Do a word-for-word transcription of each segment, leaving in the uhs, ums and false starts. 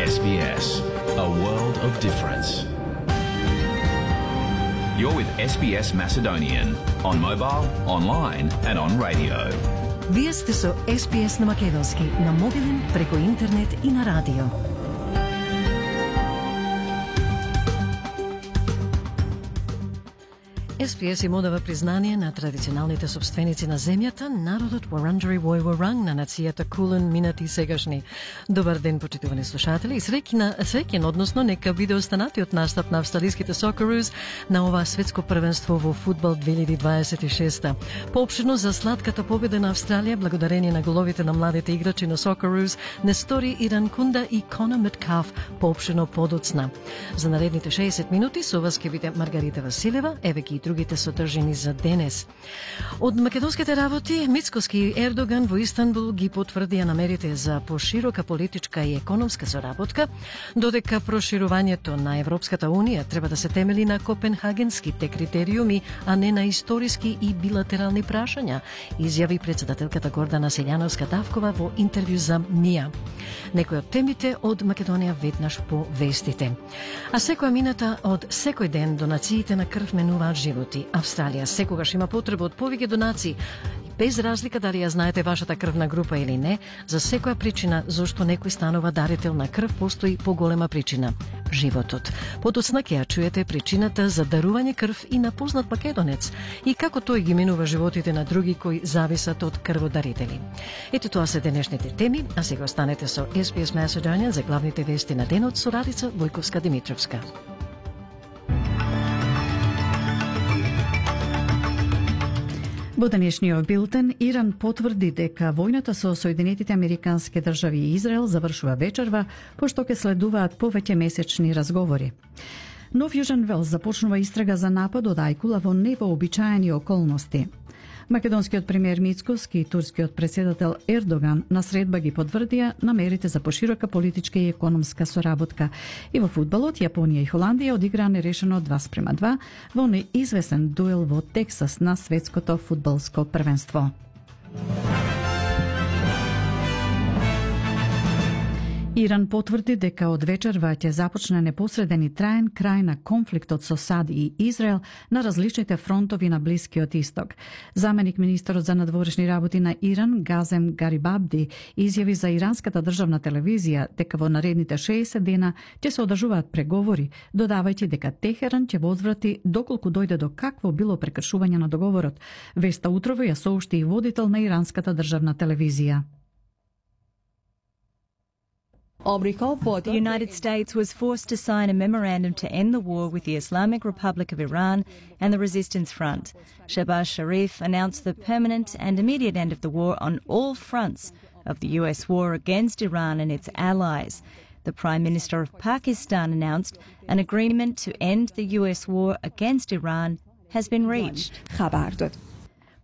S B S, a world of difference. You're with S B S Macedonian on mobile, online and on radio. Вие сте со С Б С на македонски, на мобилен, преку интернет и на радио. С Б С им одава признание на традиционалните собственици на земјата, народот Вуранџари Војворанг на нацијата Кулен, минати и сегашни. Добар ден, почитувани слушатели, и среќна, среќен, односно нека биде останатиот настап на австралиските Socceroos на ова светско првенство во фудбал две илјади дваесет и шеста. Поопштено за сладката победа на Австралија, благодарение на головите на младите играчи на Socceroos, Нестори Иранкунда и Конор Меткалф, поопштено подоцна. За наредните шеесет минути со вас ќе биде Маргарита Василева, еве ги другите содржини за денес. Од македонските работи, Мицкоски и Ердоган во Истанбул ги потврдија намерите за поширока политичка и економска соработка, додека проширувањето на Европската Унија треба да се темели на копенхагенските критериуми, а не на историски и билатерални прашања, изјави председателката Гордана Селјановска-Тавкова во интервју за МИА. Некои од темите од Македонија веднаш по вестите. А секоја минута од секој ден донациите на крв менуваат животи. Австралија секогаш има потреба од повеќе донации, без разлика дали ја знаете вашата крвна група или не. За секоја причина зошто некој станува дарител на крв постои поголема причина – животот. Подоцна ќе ја чуете причината за дарување крв и на познат македонец и како тој ги минува животите на други кои зависат од крводарители. Ето тоа се денешните теми, а сега останете со С Б С Macedonian за главните вести на денот со Радица Војковска-Димитровска. Во денешниот билтен, Иран потврди дека војната со Соединетите Американски држави и Израел завршува вечерва, пошто ќе следуваат повеќе месечни разговори. Нов Јужен Велс започнува истрага за нападот Ајкула во невообичаени околности. Македонскиот премиер Мицкоски и турскиот председател Ердоган на средба ги потврдија намерите за поширока политичка и економска соработка. И во фудбалот, Јапонија и Холандија одиграа нерешено два спрема два во неизвестен дуел во Тексас на светското фудбалско првенство. Иран потврди дека од вечерва ќе започне непосреден и траен крај на конфликтот со САД и Израел на различните фронтови на Блискиот Исток. Заменик министерот за надворешни работи на Иран, Газем Гарибабди, изјави за иранската државна телевизија дека во наредните шеесет дена ќе се одржуваат преговори, додавајќи дека Техеран ќе возврати доколку дојде до какво било прекршување на договорот. Веста утрово ја соопшти и водител на иранската државна телевизија. The United States was forced to sign a memorandum to end the war with the Islamic Republic of Iran and the Resistance Front. Shehbaz Sharif announced the permanent and immediate end of the war on all fronts of the U S war against Iran and its allies. The Prime Minister of Pakistan announced an agreement to end the U S war against Iran has been reached.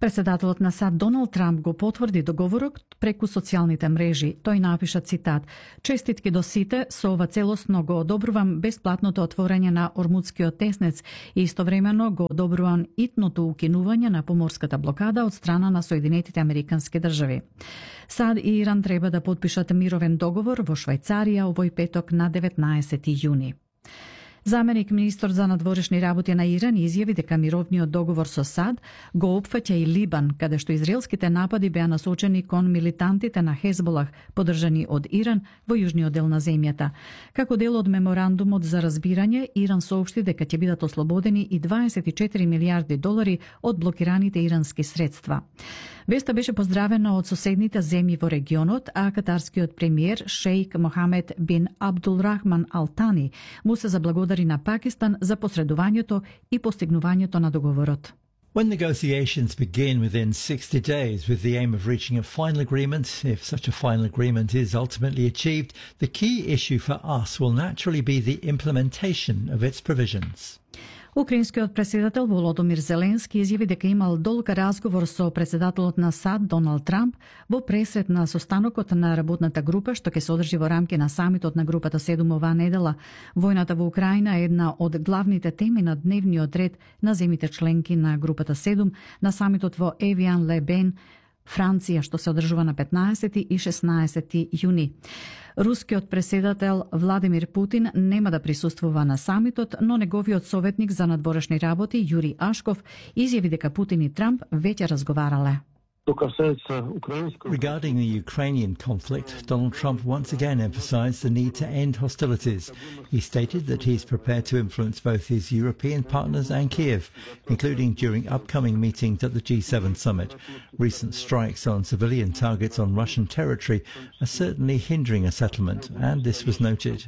Председателот на САД Доналд Трамп го потврди договорот преку социјалните мрежи. Тој напиша цитат: "Честитки до сите, со ова целосно го одобрувам бесплатното отворање на Ормудскиот теснец и истовремено го одобрувам итното укинување на поморската блокада од страна на Соединетите Американски држави." САД и Иран треба да потпишат мировен договор во Швајцарија овој петок на деветнаесети јуни. Заменик министер за надворешни работи на Иран изјави дека мировниот договор со САД го опфаќа и Либан, каде што израелските напади беа насочени кон милитантите на Хезболах, подржани од Иран во јужниот дел на земјата. Како дел од меморандумот за разбирање, Иран соопшти дека ќе бидат ослободени и дваесет и четири милијарди долари од блокираните ирански средства. Веста беше поздравена од соседните земји во регионот, а катарскиот премиер Шејк Мохамед бин Абдулрахман Алтани му се заблагодари на Пакистан за посредувањето и постигнувањето на договорот. When negotiations begin within sixty days with the aim of reaching a final agreement, if such a final agreement is ultimately achieved, the key issue for us will naturally be the implementation of its provisions. Украинскиот председател Володомир Зеленски изјави дека имал долг разговор со председателот на САД Доналд Трамп во пресрет на состанокот на работната група што ќе се одржи во рамки на самитот на групата седум оваа недела. Војната во Украина е една од главните теми на дневниот ред на земјите членки на групата седум на самитот во Евиан Лебен Франција, што се одржува на петнаесети и шеснаесети јуни. Рускиот преседател Владимир Путин нема да присуствува на самитот, но неговиот советник за надворешни работи Јури Ашков изјави дека Путин и Трамп веќе разговарале. Regarding the Ukrainian conflict, Donald Trump once again emphasized the need to end hostilities. He stated that he is prepared to influence both his European partners and Kiev, including during upcoming meetings at the G seven summit. Recent strikes on civilian targets on Russian territory are certainly hindering a settlement, and this was noted.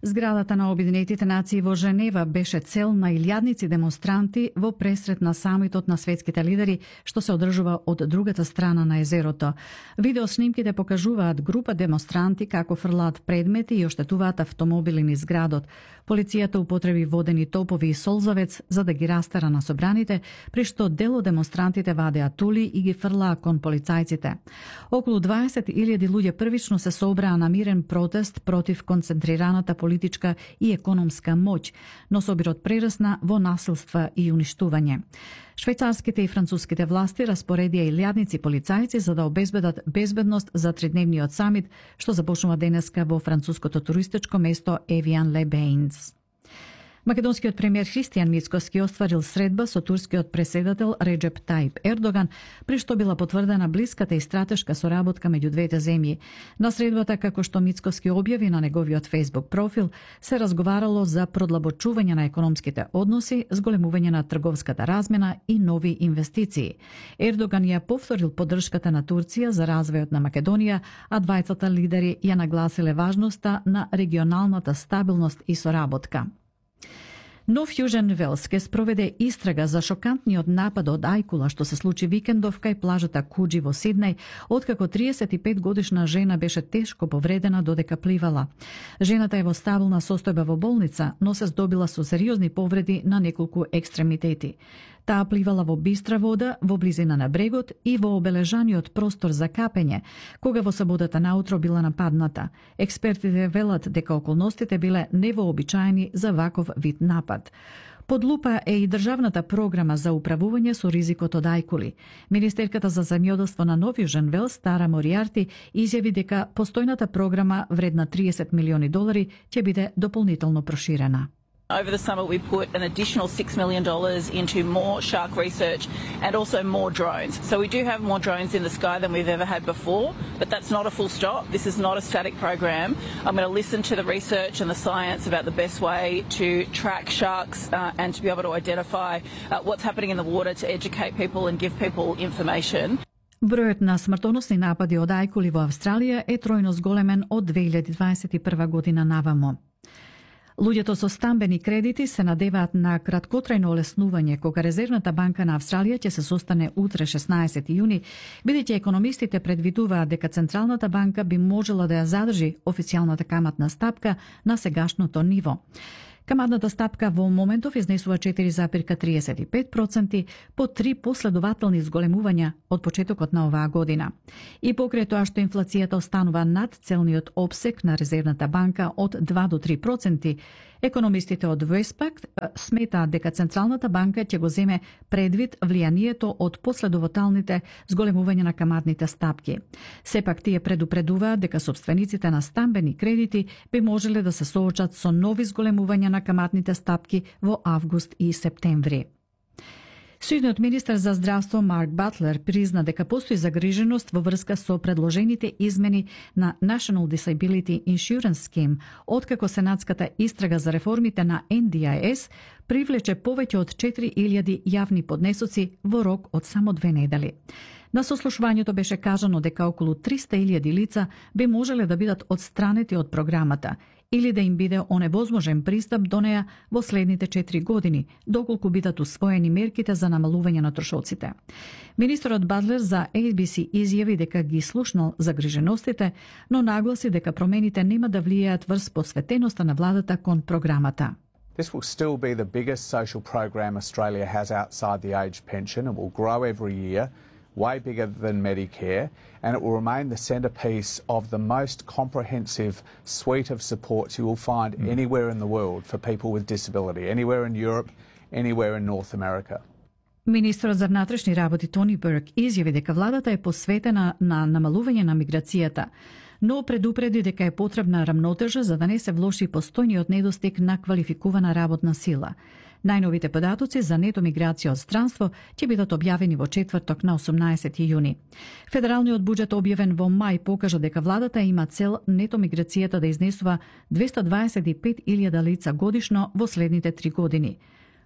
Зградата на Обединетите нации во Женева беше цел на илјадници демонстранти во пресрет на самитот на светските лидери, што се одржува од другата страна на езерото. Видеоснимките покажуваат група демонстранти како фрлаат предмети и оштетуваат автомобили низ градот. Полицијата употреби водени топови и солзавец за да ги растера на собраните, при што дел од демонстрантите вадеа тули и ги фрлаа кон полицајците. Околу дваесет илјади луѓе првично се собраа на мирен протест против концентрираната политичка и економска моќ, но собирот прерасна во насилства и уништување. Швајцарските и француските власти распоредија илјадници полицајци за да обезбедат безбедност за тридневниот самит, што започнува денеска во француското туристичко место Евиан-ле-Бејнс. Македонскиот премиер Христијан Мицкоски остварил средба со турскиот преседател Реџеп Тајип Ердоган, при што била потврдена блиската и стратешка соработка меѓу двете земји. На средбата, како што Мицкоски објави на неговиот Facebook профил, се разговарало за продлабочување на економските односи, зголемување на трговската размена и нови инвестиции. Ердоган ја повторил поддршката на Турција за развојот на Македонија, а двајцата лидери ја нагласиле важноста на регионалната стабилност и соработка. Нов Јужен Велс ке спроведе истрага за шокантниот напад од ајкула што се случи викендов кај плажата Куџи во Сиднеј, откако триесет и пет годишна жена беше тешко повредена додека пливала. Жената е во стабилна состојба во болница, но се здобила со сериозни повреди на неколку екстремитети. Таа пливала во бистра вода, во близина на брегот и во обележаниот простор за капење, кога во саботата наутро била нападната. Експертите велат дека околностите биле невообичаени за ваков вид напад. Под лупа е и државната програма за управување со ризикот од ајкули. Министерката за земјоделство на Нов Јужен Велс, Тара Мориарти, изјави дека постојната програма вредна триесет милиони долари ќе биде дополнително проширена. Over the summer we put an additional six million dollars into more shark research and also more drones. So we do have more drones in the sky than we've ever had before, but that's not a full stop. This is not a static program. I'm going to listen to the research and the science about the best way to track sharks uh, and to be able to identify uh, what's happening in the water to educate people and give people information. Бројот на смртоносни напади од ајкули во Австралија е тројно зголемен од две илјади дваесет и прва година навамо. Луѓето со стамбени кредити се надеваат на краткотрајно олеснување кога Резервната банка на Австралија ќе се состане утре шеснаесети јуни, бидејќи економистите предвидуваат дека Централната банка би можела да ја задржи официјалната каматна стапка на сегашното ниво. Каматната стапка во моментов изнесува четири зарез триесет и пет проценти по три последователни зголемувања од почетокот на оваа година. И покрај тоа што инфлацијата останува над целниот опсек на Резервната банка од два до три проценти, економистите од Вестпак сметаат дека Централната банка ќе го земе предвид влијанието од последователните зголемувања на каматните стапки. Сепак тие предупредуваат дека собствениците на стамбени кредити би можеле да се соочат со нови зголемувања на каматните стапки во август и септември. Сојузниот министер за здравство Марк Батлер призна дека постои загриженост во врска со предложените измени на National Disability Insurance Scheme, откако сенатската истрага за реформите на Ен Ди Ај Ес привлече повеќе од четири илјади јавни поднесоци во рок од само две недели. На сослушувањето беше кажано дека околу триста илјади лица би можеле да бидат отстранети од програмата или да им биде оневозможен пристап до неа во следните четири години, доколку бидат усвоени мерките за намалување на трошоците. Министерот Батлер за Ей Би Си изјави дека ги слушнал загриженостите, но нагласи дека промените нема да влијаат врз посветеноста на владата кон програмата. This will still be the biggest social program Australia has outside the age pension. It will grow every year, way bigger than Medicare, and it will remain the centrepiece of the most comprehensive suite of supports you will find mm. anywhere in the world for people with disability, anywhere in Europe, anywhere in North America. Министрот за внатрешни работи Тони Бурк изјави дека владата е посветена на намалување на миграцијата, но предупреди дека е потребна рамнотежа за да не се влоши постојниот недостиг на квалификувана работна сила. Најновите податоци за нето миграција од странство ќе бидат објавени во четврток на осумнаесети јуни. Федералниот буџет објавен во мај покажа дека владата има цел нето миграцијата да изнесува двеста дваесет и пет илјади лица годишно во следните три години.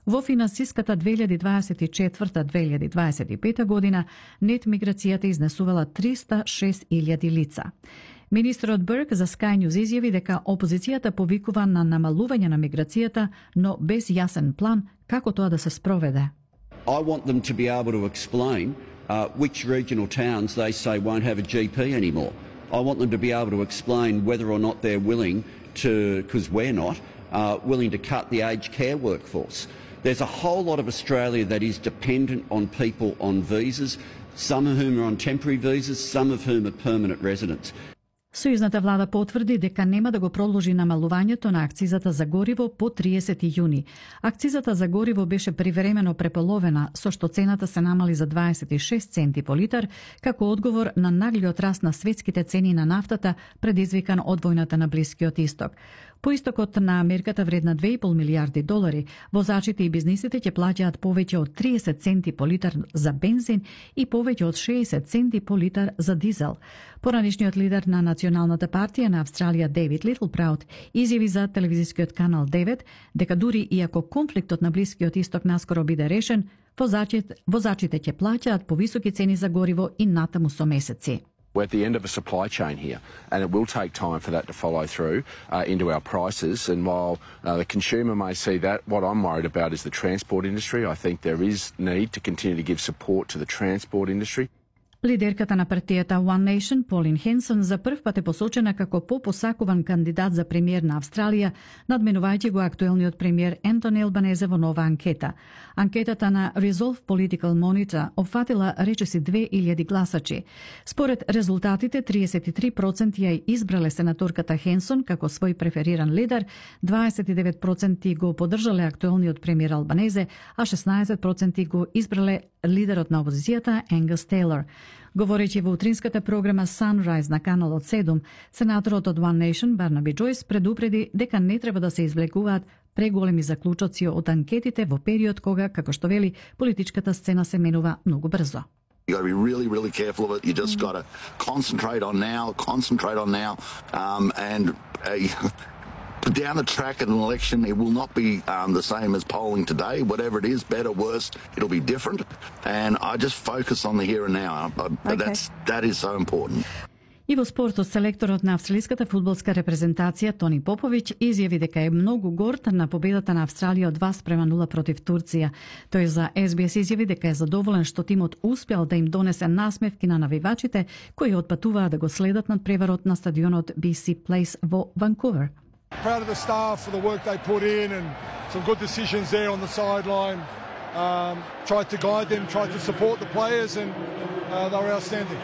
Во финансиската две илјади дваесет и четврта - две илјади дваесет и пета година нет миграцијата изнесувала триста и шест илјади лица. Министрот Бурк за Sky News изјави дека опозицијата повикува на намалување на миграцијата, но без јасен план како тоа да се спроведе. I want them to be able to explain uh, which regional towns they say won't have a G P anymore. I want them to be able to explain whether or not they're willing to, because we're not, uh, willing to cut the aged care workforce. There's a whole lot of Australia that is dependent on people on visas, some of whom are on temporary visas, some of whom are permanent residents. Сојузната влада потврди дека нема да го продолжи намалувањето на акцизата за гориво по триесети јуни. Акцизата за гориво беше привремено преполовена, со што цената се намали за дваесет и шест центи по литар, како одговор на наглиот раст на светските цени на нафтата, предизвикан од војната на Блискиот Исток. По истокот на мерката вредна две и пол милијарди долари, возачите и бизнисите ќе плаќаат повеќе од триесет центи по литар за бензин и повеќе од шеесет центи по литар за дизел. Поранишниот лидер на Националната партија на Австралија Дейвид Литлпраут изјави за телевизискиот канал девет дека дури и ако конфликтот на Блискиот Исток наскоро биде решен, возачите, возачите ќе плаќаат повисоки цени за гориво и натаму со месеци. We're at the end of a supply chain here, and it will take time for that to follow through uh, into our prices. And while uh, the consumer may see that, what I'm worried about is the transport industry. I think there is need to continue to give support to the transport industry. Лидерката на партијата One Nation, Полин Хенсон, за прв пат е посочена како попосакуван кандидат за премиер на Австралија, надменувајќи го актуелниот премиер Ентони Албанезе во нова анкета. Анкетата на Resolve Political Monitor опфатила речиси две илјади гласачи. Според резултатите, триесет и три проценти ја избрале сенаторката Хенсон како свој префериран лидер, дваесет и девет проценти го поддржале актуелниот премиер Албанезе, а шеснаесет проценти го избрале лидерот на опозицијата Енгас Тейлор. Говорејќи во утринската програма Sunrise на каналот седум, сенаторот од One Nation Барнаби Джойс предупреди дека не треба да се извлекуваат преголеми заклучоци од анкетите во период кога, како што вели, политичката сцена се менува многу брзо. You got to be really, really careful of it. You just got to concentrate on now, concentrate on now, um, and uh, down the track at an election, it will not be um, the same as polling today. Whatever it is, better, worse, it'll be different. And I just focus on the here and now. I, okay. That's that is so important. И во спортот, селекторот на австралиската фудбалска репрезентација Тони Поповиќ изјави дека е многу горд на победата на Австралија од два спрема нула против Турција. Тој за Ес Би Ес изјави дека е задоволен што тимот успел да им донесе насмевки на навивачите кои отпатуваа да го следат над преварот на стадионот Би Си Плейс во Ванкувер. Proud of the staff for the work they put in and some good decisions there on the sideline. Um, tried to guide them, tried to support the players, and uh, they were outstanding.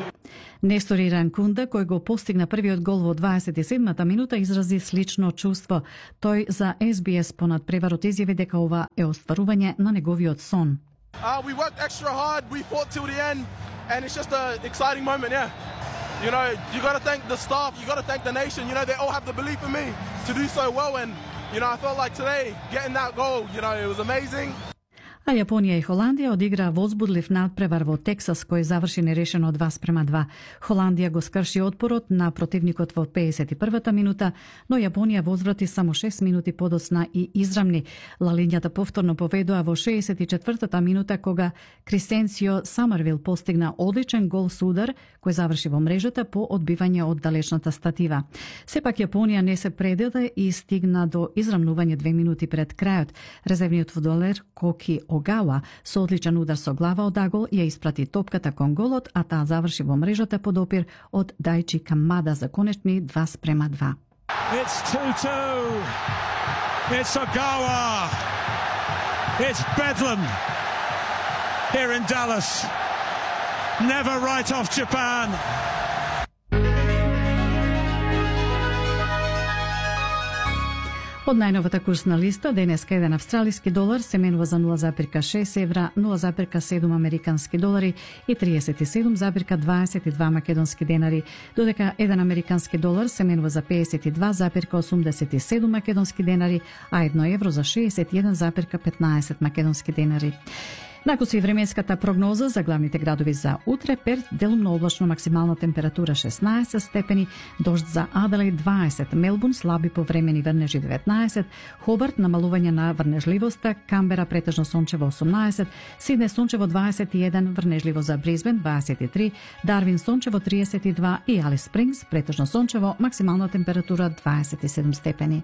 Нестор Иранкунда, кој го постигна првиот гол во дваесет и седмата минута, изрази слично чувство. Тој за Ес Би Ес понад преварот изјави дека ова е остварување на неговиот сон. Uh, we worked extra hard, we fought till the end, and it's just an exciting moment, yeah. You know, you got to thank the staff, you got to thank the nation, you know, they all have the belief in me to do so well, and, you know, I felt like today, getting that goal, you know, it was amazing. А Јапонија и Холандија одигра возбудлив надпревар во Тексас, кој заврши нерешено два спрема два. Холандија го скрши отпорот на противникот во пеесет и првата минута, но Јапонија возврати само шест минути подоцна и израмни. Лалињата повторно поведоа во шеесет и четвртата минута, кога Крисенцио Самарвил постигна одличен гол со удар, кој заврши во мрежата по одбивање од далечната статива. Сепак Јапонија не се предаде и стигна до израмнување две минути пред крајот. Резервниот фудбалер Коки Огава со одличен удар со глава од агол ја испрати топката кон голот, а таа заврши во мрежата под опир од Дајчи Камада за конечни два спрема два. It's two two. It's Ogawa. It's Bedlam here in Dallas. Never write off Japan. Од најновата курсна листа, денеска еден австралиски долар се менува за нула зарез шест евра, нула зарез седум американски долари и триесет и седум зарез дваесет и два македонски денари, додека еден американски долар се менува за пеесет и два зарез осумдесет и седум македонски денари, а едно евро за шеесет и еден зарез петнаесет македонски денари. Накуси временската прогноза за главните градови за утре: Перт делумно облачно, максимална температура шеснаесет степени, дожд за Аделаид дваесет, Мелбурн слаби повремени врнежи деветнаесет, Хобарт намалување на врнежливоста, Камбера претежно сончево осумнаесет, Сидне сончево дваесет и еден, врнежливо за Бризбен дваесет и три, Дарвин сончево триесет и два и Алис Спрингс претежно сончево, максимална температура дваесет и седум степени.